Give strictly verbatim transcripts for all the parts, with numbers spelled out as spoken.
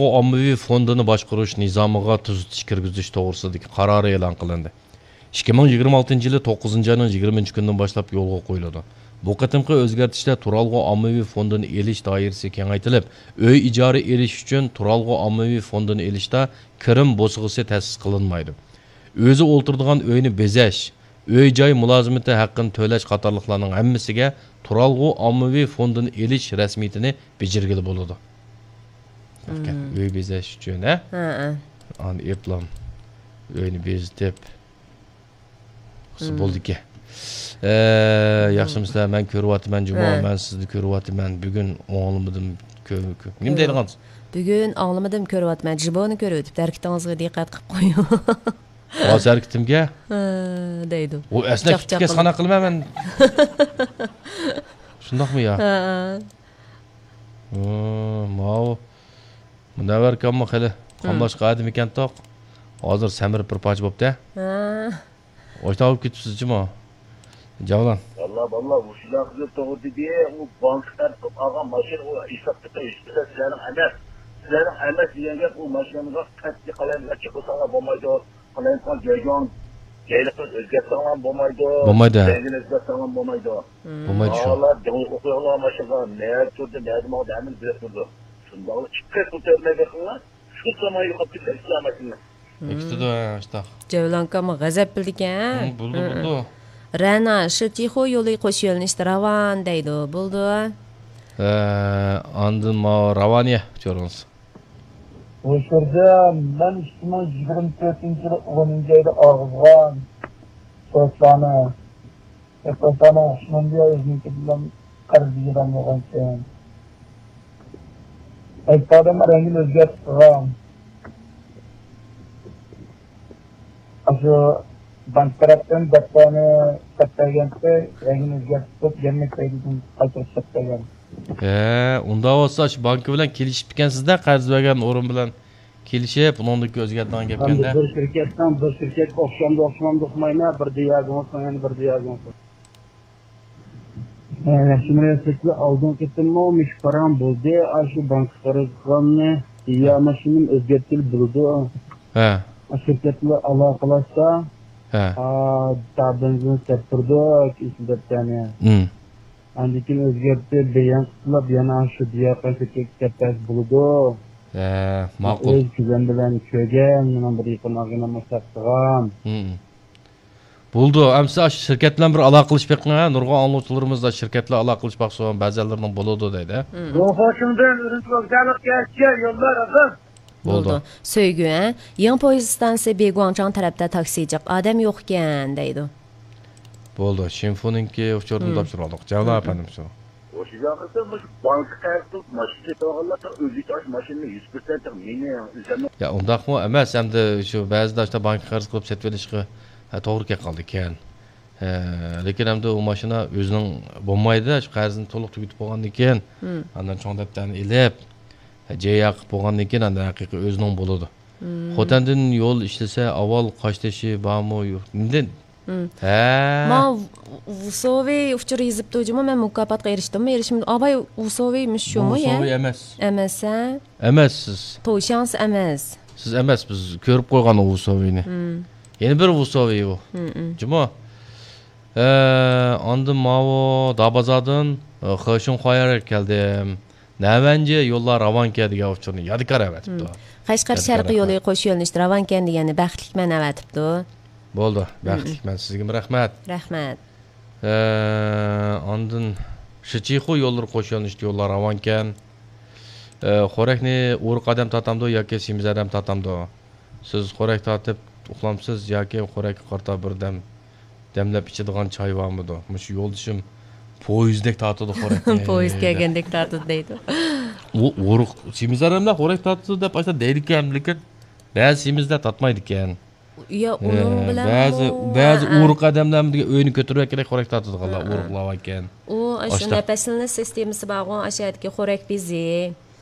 ئاممىۋى فوندىنى باشقۇرۇش نىزامىغا تۈزىتىش كىرگۈزۈش توغرىسىدىكى قارارى ئېلان قىلىندى. ئىككى مىڭ يىگىرمە ئالتىنچى يىلى توققۇزىنچى ئاينىڭ يىگىرمىنچى كۈنىدىن باشلاپ يولغا قويۇلىدۇ. بۇ قېتىمقى ئۆزگەرتىشتە تۇرالغۇ ئاممىۋى فوندىنى ئېلىش دائىرىسى كېڭەيتىلىپ، ئۆي ئىجارە ئېلىش ئۈچۈن تۇرالغۇ ئاممىۋى فوندىنى ئېلىشتا كىرىم بوسىغىسى تەسىس قىلىنمايدۇ. ئۆزى ئولتۇرىدىغان ئۆينى بېزەش، ئۆي-جاي مۇلازىمىتى ھەققىنى تۆلەش قاتارلىقلارنىڭ ھەممىسىگە تۇرالغۇ ئاممىۋى فوندىنى ئېلىش رەسمىيىتىنى بېجىرگىلى بولىدۇ. مم. ئۆي بېزەش ئۈچۈن، ھە؟ ھە، ھە. ئاندىن ئېپلام ئۆينى بېزىتىپ، مم. بولدىكەن. ئە، ياخشىمۇسىلەر؟ مەن كۆرۈۋاتىمەن، جۇمۇ، ھە. مەن سىزنى كۆرۈۋاتىمەن. بۈگۈن ئاڭلىمىدىم، كۆ-، كۆ-، نېمە دەيدىغانسىز؟ بۈگۈن ئاڭلىمىدىم، كۆرۈۋاتىمەن. جۇمۇنى كۆرۈۋېتىپ، ھەرىكىتىڭىزگە دىققەت قىلىپ قويۇڭ. ھازىر ھەرىكىتىمگە؟ ھە، دەيدۇ. ئۇ ئەسلى چاقچاق كىتابكە قىلىپ. سانا قىلىمەن مەن. شۇنداقمۇ يا؟ ھە. ھە، ماۋۇ. مۇنەۋۋەر ئاكاممۇ خېلى ھە. قاملاشقان ئادەم ئىكەنتۇق. ھازىر سەمرىپ بىر پارچە بوپتۇ. ھە. ئاشۇنداق بولۇپ كېتىپسىز جۇمۇ. جەۋلان. ۋاللا باللا، مۇشۇنداق قىزىپ توغرا دېدى. ئۇ بانكا تەرەپ قىلىپ ئالغان ماشىنا، ئۇ ھېسابتا ھېچ بىرسى سىلەرنىڭ ئەمەس. سىلەرنىڭ ئەمەس دېگەن گەپ، ئۇ ماشىنىغا قەتئىي قالايمىقان چىقىرساڭلار بولمايدۇ. قالايمىقان جايگان جايلىقىنى ئۆزگەرتسەڭلار بولمايدۇ. بولمايدۇ. رەڭگىنى ئۆزگەرتسەڭلار بولمايدۇ. بولمايدۇ شۇ. ئالار دېڭىزغا قويۇڭلار ماشىنىغا، نەدە تۇردى، نەدە ماڭدى، ھەممىنى بىلىپ تۇرىدۇ. شۇنداقلا ئىككى قېتىم تۆرتمەگە قىلىڭلار. شۇ زامان يوقاپ كېتىدۇ ئىسلام ماشىنىنى. بېكىتىدۇ، ھە، ئاشتاق. جەۋلان ئاكاممۇ غەزەپ بىلىدىكەن. ھە، بولىدۇ، ھە، بولىدۇ. رەنا، شىچىخۇ يولى قوش يۆنىلىشتە راۋان دەيدۇ. بولىدۇ. ھە، ئاندىن ماۋۇ راۋانىيە ئۇچۇرىڭىز. ئۇ يەردە مەن ئىككى مىڭ يىگىرمە تۆتىنچى يىلى ئونىنچى ئايدا ئالغان سوتلارنى. ئەپەسانىڭ ئوخشىمامدۇ يا ئۆزىنىڭكى بىلەن قەرز يېگەن بولغانكەن. ئەيتادىم رەڭگىنى ئۆزگەرتىپ قىلغان. ئاشۇ بانك تەرەپتىن دەپتەرنى سەپ بەرگەنتى، رەڭگىنى ئۆزگەرتىپ يەنە كەينىدىن قايتۇرۇپ سەپ بەرگەن. ھە، ئۇنداق بولسا شۇ بانكا بىلەن كېلىشىپتىكەنسىز-دە، قەرز بەرگەن ئورۇن بىلەن. كېلىشىپ، ئۇنىڭدىن كېيىن ئۆزگەرتىدىغان گەپكەن-دە. بىر شىركەتنىڭ بىر شىركەتكە ئوخشامدۇ، ئوخشىمامدۇ ئۇقمايمەن، بىر دېياگنوز، يەنە بىر دېياگنوز. ئە، ياخشى مۇناسىۋەتلەر ئالدىنقى قېتىممۇ مۇشۇ پاراڭ بولدى، ئاشۇ بانكا قەرز قىلغاننى يا ماشىنىنى ئۆزگەرتكىلى بولىدۇ. ھە. شىركەت بىلەن ئالاقىلاشسا، ھە. ئا، تا بېنزىن سەپ تۇرىدۇ، ئېسىل دەپتەرنى. ئاندىن كېيىن ئۆزگەرتىپ، بىر يان قىسىملاپ يەنە شۇ دىيارقان كۆچەك دەپ بەرسە بولىدۇ. ھە، ماقۇل. ئۆز كۆزۈم بىلەن كۆرگەن، مېنىڭ بىر يېقىن ئاغىنەم مۇشۇنداق قىلغان. ھىم. بولىدۇ، ئەمسە ئاشۇ شىركەت بىلەن بىر ئالاقىلىشىپ بېقىڭ، ھە، نۇرغۇن ئاڭلىغۇچىلىرىمىز شىركەت بىلەن ئالاقىلىشىپ باقسۇن، بەزىلىرىنىڭ بولىدۇ دەيدۇ. ھىم. روخوشۇڭدىن ئۈرۈمچىگە كەلگەن يوللار ئاخىر. بولدى. بولدى. سۆيگۈ، ھە؟ يېڭى پويىز ئىستانسىسى بىگۇاڭچاڭ تەرەپتە تاكسى جىق، ئادەم يوقكەن، دەيدۇ. بولدى. شىنفۇنىڭكى ئۇچۇرىنى مم. تاپشۇرۇۋالدۇق. جەۋلان مم. ئەپەندىم شۇ. ئوشۇ ياقىسى مۇشۇ بانكا قەرز قىلىپ ماشىنا سېتىۋالغانلار ئۆزى ئاش ماشىنىنى يۈز پىرسەنت مېنى ئۆزۈمنىڭ. يا، ئۇنداقمۇ ئەمەس، ئەمدى شۇ بەزىدە ئاشۇنداق بانكا قەرز قىلىپ سېتىۋېلىشقا، ھە، توغرا كەپ قالىدىكەن. ھە، لېكىن ئەمدى ئۇ ماشىنا ئۆزىنىڭ بولمايدۇ، شۇ قەرزنى تولۇق تۈگىتىپ بولغاندىن كېيىن، مم. ئاندىن چوڭ دەپتەرنى ئېلىپ، جەييا قىلىپ بولغاندىن كېيىن ئاندىن ھەقىقىي ئۆزىنىڭ بولىدۇ. مم. خوتەندىن يول ئىشلىسە ئاۋۋال قاشتېشى بارمۇ يوق؟ نېمىدىن؟ مم. ھە. ما ۋۇسوۋى ئۇچۇر يېزىپتۇ جۇمۇ، مەن مۇكاپاتقا ئېرىشتىممۇ، ئېرىشمىدىم. ئاباي ۋۇسوۋى مۇشۇ شۇمۇ، يا؟ ۋۇسوۋى ئەمەس. ئەمەس، ھە؟ ئەمەس سىز. توشياڭس ئەمەس. سىز ئەمەس، بىز كۆرۈپ قويغان ئۇ ۋۇسوۋىنى. مم. يەنە بىر ۋۇسوۋى ئۇ. مم، مم. جۇمۇ. ئە، ئاندىن ماۋۇ دابازاردىن، ئە، خېشىڭخۇايەرگە كەلدىم. نەۋەنجى يوللار راۋانكەن دېگەن ئۇچۇرنى يادىكار ئەۋەتىپتۇ. مم. قەشقەر يادىكار شەرقىي يولى ئەۋەتىپتۇ. قوش يۆنىلىشتە راۋانكەن دېگەننى بەختلىكمەن ئەۋەتىپتۇ. بولدى، مم. بەختلىكمەن. سىزگىمۇ رەھمەت. رەھمەت. ئە، ئاندىن شىچىخۇ يوللىرى قوش يۆنىلىشتە يوللار راۋانكەن. ئە، خورەكنى ئورۇق ئادەم تارتامدۇ ياكى سېمىز ئادەم تارتامدۇ؟ سىز خورەك تارتىپ ئۇخلامسىز ياكى خورەككە قارىتا بىردەم دەملەپ ئىچىدىغان چاي بارمىدۇ؟ مۇشۇ يولدىشىم پويىزدەك تارتىدۇ خورەكنى. پويىز كەلگەندەك تارتىدۇ دەيدۇ. ئۇ ئورۇق سېمىز ئادەملەر خورەك تارتىدۇ دەپ ئاشۇنداق دەيدىكەن، لېكىن بەزى سېمىزلەر تارتمايدىكەن. يا، ئۇنىڭ ھە، بىلەن بەزى، بۇ، بەزى ھە، ھە. ئورۇق ئادەملەرمۇ دېگەن ئۆينى كۆتۈرۈۋەتكەندەك خورەك تارتىدىغانلار ھە، ھە. ئورۇقلار باركەن. ئۇ ئاشۇ ئاشتا- نەپەسلىنىش سىستېمىسى بارغۇ، ئاشۇ يەردىكى خورەك بېزى.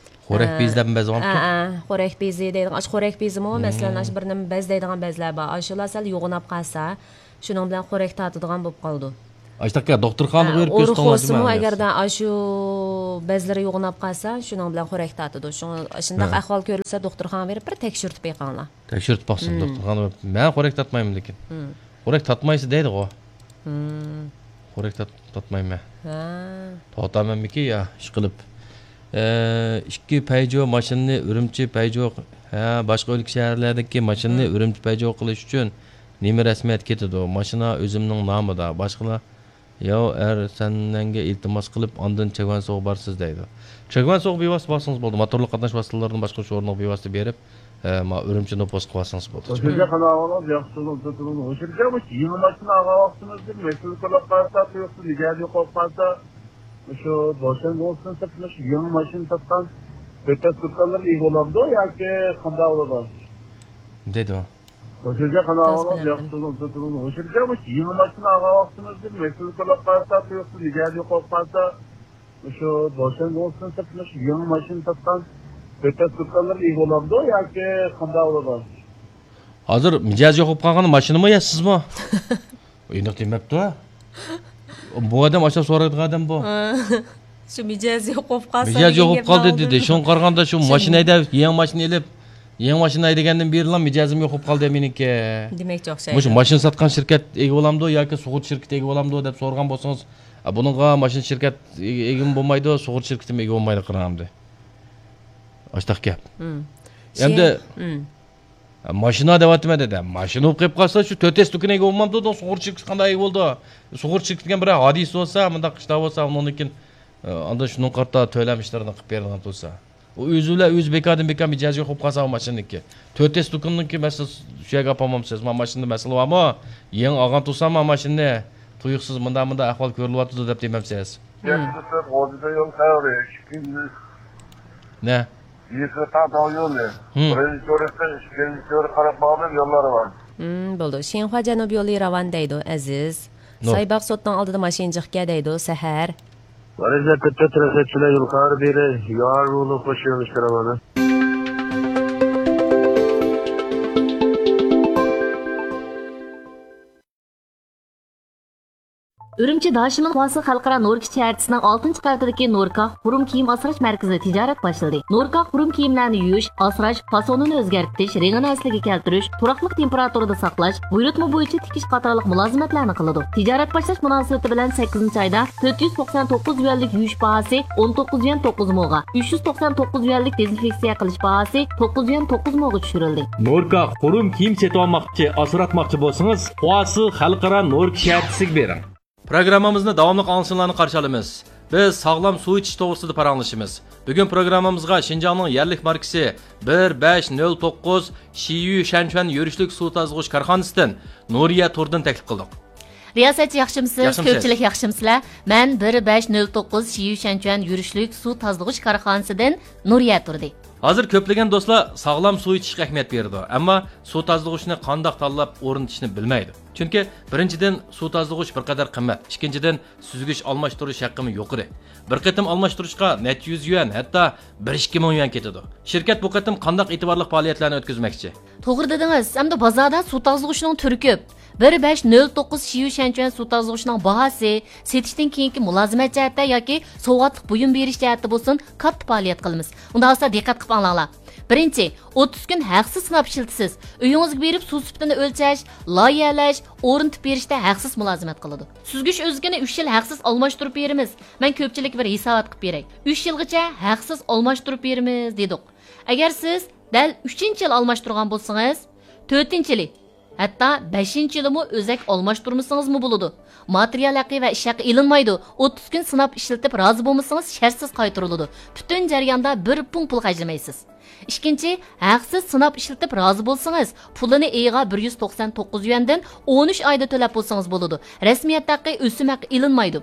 خورەك ھە. بېزى دەپ بەزى بولۇپتۇ؟ ھە، ھە. خورەك بېزى دەيدىغان، ئاشۇ خورەك بېزىمۇ، مم. مەسىلەن، ئاشۇ بىر نېمە بەزلەيدىغان بەزلەر بار. ئاشۇلار سەل يوغىناپ قالسا، شۇنىڭ بىلەن خورەك تارتىدىغان بولۇپ قالىدۇ. ئاشتاكا، دوختۇرخانىغا بېرىپ كۆرسىتىڭلار، ئورۇق بولسىمۇ، ئەگەردە ئاشۇ بەزلىرى يوغىناپ قالسا، شۇنىڭ بىلەن خورەك تارتىدۇ. شۇڭا ئاشۇنداق ئەھۋال كۆرۈلسە، دوختۇرخانىغا بېرىپ بىر تەكشۈرتۈپ بېقىڭلار. تەكشۈرتۈپ باقسۇن، دوختۇرخانىغا بېرىپ. مەن خورەك تارتمايمەن لېكىن. خورەك تارتمايسىز دەيدىغۇ. خورەك تارت-، تارتمايمەن. توختامەنمىكى يا، ئىشقىلىپ. ئىككى پەيجو ماشىنىنى ئۈرۈمچى پەيجو، ھە، باشقا ئۆلكە شەھەرلەردىكى ماشىنىنى ئۈرۈمچى پەيجو قىلىش ئۈچۈن نېمە رەسمىيەت كېتىدۇ؟ ماشىنا ئۆزۈمنىڭ نامىدا. باشقىلار، ياۋ ئەر سەننەڭگە ئىلتىماس قىلىپ، ئاندىن چېگۋەنسوغا بارىسىز دەيدۇ. چېگۋەنسوغا بىۋاسىتە بارسىڭىز بولىدۇ. موتورلۇق قاتناش ۋاسىتىلىرىدىن باشقا شۇ ئورۇنغا بىۋاسىتە بېرىپ، ئە، ما ئۈرۈمچى نوپۇسقا بارسىڭىز بولىدۇ. ئۇ يەردە قانداق ئەھۋالىڭىز؟ ياخشى تۇرۇڭ، تۇرۇڭ. ئۇ يەردە مۇشۇ يېڭى ماشىنا ئالغان ۋاقتىمىزدا مەسىلە كۆرۈپ قالسا، تۇيۇقسىز مىجەزى قوپۇپ قالسا، مۇشۇ بوشاڭ بولسۇن سىرتىدا مۇشۇ يېڭى ماشىنا ساتقان كۆتەس دۇكانلىرىغا ئىگە بولامدۇ ياكى قانداق بولىدۇ؟ دېدى ئۇ. ئۇ يەردە قانداق ئەھۋالىڭىز؟ ياخشى تۇرۇڭ، تۇرۇڭ. ئۇ يەردە مۇشۇ يېڭى ماشىنا ئالغان ۋاقتىمىزدا مەسىلە كۆرۈپ قالسا، تۇيۇقسىز مىجەزى قوپۇپ قالسا، مۇشۇ بوشاڭ بولسۇن سىرتىدا مۇشۇ يېڭى ماشىنا ساتقان كۆتەس دۇكانلىرىغا ئىگە بولامدۇ ياكى قانداق بولىدۇ؟ ھازىر مىجەزى يوقاپ قالغان ماشىنىمۇ يا سىزمۇ؟ ئېنىق دېمەپتۇ. بۇ ئادەم ئاشۇنداق سورايدىغان ئادەم بۇ. شۇ مىجەزى يوقاپ قالسا، مىجەزى يوقاپ قالدى دېدى. شۇڭا قارىغاندا شۇ ماشىنا ھەيدەپ، يېڭى ماشىنا ئېلىپ، يېڭى ماشىنا ھەيدىگەندىن بېرىلا مىجەزىم يوقاپ قالدى مېنىڭكى. دېمەكچى ئوخشايدۇ. مۇشۇ ماشىنا ساتقان شىركەت ئىگە بولامدۇ ياكى سۇغۇرتا شىركىتى ئىگە بولامدۇ دەپ سورىغان بولسىڭىز، ئا، بۇنىڭغا ماشىنا شىركەت ئىگە، ئىگىمۇ بولمايدۇ، سۇغۇرتا شىركىتىمۇ ئىگە بولمايدۇ، قاراڭ ئەمدى. ئاشتاق گەپ. ئەمدى ماشىنا دەۋاتىمەن دېدى. ماشىنا بولۇپ قېلىپ قالسا، شۇ تۆت ئېس دۇكىنى ئىگە بولمامدۇ، سۇغۇرتا شىركىتى قانداق ئىگە بولىدۇ؟ سۇغۇرتا شىركىتى دېگەن بىر ھادىسە بولسا، مۇنداق ئىشلار بولسا، ئۇنىڭدىن كېيىن، ئاندىن شۇنىڭغا قارىتا تۆلەم ئىشلىرىنى قىلىپ بېرىدىغان تۇرسا. ئۇ ئۆزى بىلەن ئۆزى بىكاردىن بىكار مىجەزى يوقاپ قالسا، ئۇ ماشىنىنىڭكى. تۆت ئېس دۇكىنىنىڭكى مەسىلە شۇ يەرگە ئاپارمامسىز؟ ما ماشىنىدا مەسىلە بارمۇ؟ يېڭى ئالغان تۇرسام، ما ماشىنىنى تۇيۇقسىز مۇنداق، مۇنداق ئەھۋال كۆرۈلۈۋاتىدۇ دەپ دېمەمسىز؟ يەتتە تۆت غوجىدا يول تەۋرى، ئىككىنچى. نە؟ يېقىنقى تاغ يولى. بىرىنچى تۈركتىن ئىككىنچى تۈرك قاراپ ماڭىدىغان يوللار بار. بولدى. شىنخۇا جەنۇب يولى راۋان دەيدۇ، ئەزىز. سايباغ سوتنىڭ ئالدىدا ماشىنا جىق كەل دەيدۇ، سەھەر. مەرىزە كۆتتە تىرەسەتچىلەر يۇقارى بېرى، يار بولۇپ خوش يۆنىلىشكە راۋانە. ئۈرۈمچى داشىمىن خۇاسى خەلقئارا نوركا شەھەرچىسىنىڭ ئالتىنچى قەۋىتىدىكى نوركا قۇرۇم كىيىم ئاسراش مەركىزىدە تىجارەت باشلىدى. نوركا قۇرۇم كىيىملەرنى يۇيۇش، ئاسراش، پاسونىنى ئۆزگەرتىش، رېڭىنى ئەسلىگە كەلتۈرۈش، تۇراقلىق تېمپېراتۇرىدا ساقلاش، بۇيرۇتما بويىچە تىكىش قاتارلىق مۇلازىمەتلەرنى قىلىدۇ. تىجارەت باشلاش مۇناسىۋىتى بىلەن سەككىزىنچى ئايدا تۆت يۈز توقسان توققۇز يۈەنلىك يۇيۇش باھاسى ئون توققۇز يۈەن توققۇز موغا، ئۈچ يۈز توقسان توققۇز يۈەنلىك دېزىنفېكسىيە قىلىش باھاسى توققۇز يۈەن توققۇز موغا چۈشۈرۈلدى. نوركا قۇرۇم كىيىم سېتىۋالماقچى، ئاسراتماقچى بولسىڭىز، خۇاسى خەلقئارا نوركا شەھەرچىسىگە بېرىڭ. پروگراممىمىزنى داۋاملىق ئاڭلىشىڭلارنى قارشى ئالىمىز. بىز ساغلام سۇ ئىچىش توغرىسىدا پاراڭلىشىمىز. بۈگۈن پروگراممىمىزغا شىنجاڭنىڭ يەرلىك ماركىسى بىر بەش نۆل توققۇز شىيۈ شەنچۈەن يۈرۈشلۈك سۇ تازىلىغۇچ كارخانىسىدىن نۇرىيە تۇردىن تەكلىپ قىلدۇق. رىياسەتچى ياخشىمۇسىز؟ ياخشىمۇسىز؟ كۆپچىلىك ياخشىمۇسىلەر؟ مەن بىر بەش نۆل توققۇز شىيۈ شەنچۈەن يۈرۈشلۈك سۇ تازىلىغۇچ كارخانىسىدىن نۇرىيە تۇردى. ھازىر كۆپلىگەن دوستلار ساغلام سۇ ئىچىشكە ئەھمىيەت بېرىدۇ، ئەمما سۇ تازىلىغۇچنى قانداق تاللاپ ئورنىتىشنى بىلمەيدۇ. چۈنكى بىرىنچىدىن، سۇ تازىلىغۇچ بىر قەدەر قىممەت، ئىككىنچىدىن، سۈزگۈچ ئالماشتۇرۇش ھەققىمۇ يۇقىرى. بىر قېتىم ئالماشتۇرۇشقا نەچچە يۈز يۈەن، ھەتتا بىر ئىككى مىڭ يۈەن كېتىدۇ. شىركەت بۇ قېتىم قانداق ئېتىبارلىق پائالىيەتلەرنى ئۆتكۈزمەكچى؟ توغرا دېدىڭىز، ئەمدى بازاردا سۇ تازىلىغۇچنىڭ تۈرى كۆپ. بىر بەش نۆل توققۇز شىيۈ شەنچۈەن سۇ تازىلىغۇچنىڭ باھاسى، سېتىشتىن كېيىنكى مۇلازىمەت جەھەتتە ياكى سوۋغاتلىق بۇيۇم بېرىش جەھەتتە بولسۇن، كاتتا پائالىيەت قىلىمىز. ئۇنداق بولسا دىققەت قىلىپ ئاڭلاڭلار. بىرىنچى، ئوتتۇز كۈن ھەقسىز سىناپ ئىشلىتىسىز. ئۆيىڭىزگە بېرىپ سۇ سۈپىتىنى ئۆلچەش، لايىھەلەش، ئورنىتىپ بېرىشتە ھەقسىز مۇلازىمەت قىلىدۇ. سۈزگۈچ ئۆزىكىنى ئۈچ يىل ھەقسىز ئالماشتۇرۇپ بېرىمىز. مەن كۆپچىلىككە بىر ھېسابات قىلىپ بېرەي. ئۈچ يىلغىچە ھەقسىز ئالماشتۇرۇپ بېرىمىز دېدۇق. ئەگەر سىز دەل ئۈچىنچى يىل ئالماشتۇرغان بولسىڭىز، تۆتىنچى يىلى، ھەتتا بەشىنچى يىلىمۇ ئۆزەك ئالماشتۇرمىسىڭىزمۇ بولىدۇ. ماتېرىيال ھەققى ۋە ئىش ھەققى ئېلىنمايدۇ. ئوتتۇز كۈن سىناپ ئىشلىتىپ رازى بولمىسىڭىز، شەرتسىز قايتۇرۇلىدۇ. پۈتۈن جەرياندا بىر پۇڭ پۇل خەجلىمەيسىز. ئىككىنچى، ھەقسىز سىناپ ئىشلىتىپ رازى بولسىڭىز، پۇلىنى ئېيىغا بىر يۈز توقسان توققۇز يۈەندىن ئون ئۈچ ئايدا تۆلەپ بولسىڭىز بولىدۇ. رەسمىيەت ھەققى، ئۆسۈم ھەققى ئېلىنمايدۇ.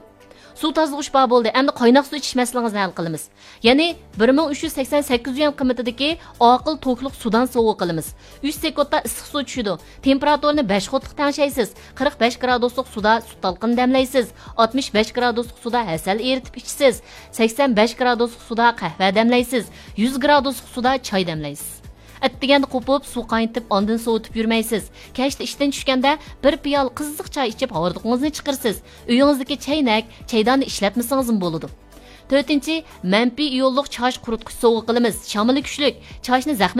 سۇ تازىلىغۇچ بار بولدى، ئەمدى قايناق سۇ ئىچىش مەسىلىڭىزنى ھەل قىلىمىز. يەنى بىر مىڭ ئۈچ يۈز سەكسەن سەككىز يۈەن قىممىتىدىكى ئاقىل توكلۇق سۇدان سوۋغا قىلىمىز. ئۈچ سېكۇنتتا ئىسسىق سۇ چۈشىدۇ. تېمپېراتۇرىنى بەش قۇتلۇق تەڭشەيسىز. قىرىق بەش گرادۇسلۇق سۇدا سۈت تالقىنى دەملەيسىز. ئاتمىش بەش گرادۇسلۇق سۇدا ھەسەل ئېرىتىپ ئىچىسىز. سەكسەن بەش گرادۇسلۇق سۇدا قەھۋە دەملەيسىز. يۈز گرادۇسلۇق سۇدا چاي دەملەيسىز. ئەتىگەندە قوپۇپ، سۇ قاينىتىپ، ئاندىن سوۋۇتۇپ يۈرمەيسىز. كەچتە ئىشتىن چۈشكەندە بىر پىيالە قىزىق چاي ئىچىپ، ھاردۇقىڭىزنى چىقىرىسىز. ئۆيىڭىزدىكى چەينەك، چەيداننى ئىشلەتمىسىڭىزمۇ بولىدۇ. تۆتىنچى، مەنپىي ئىيونلۇق چاچ قۇرۇتقۇچ سوۋغا قىلىمىز. شامىلى كۈچلۈك، چاچنى زەخمەت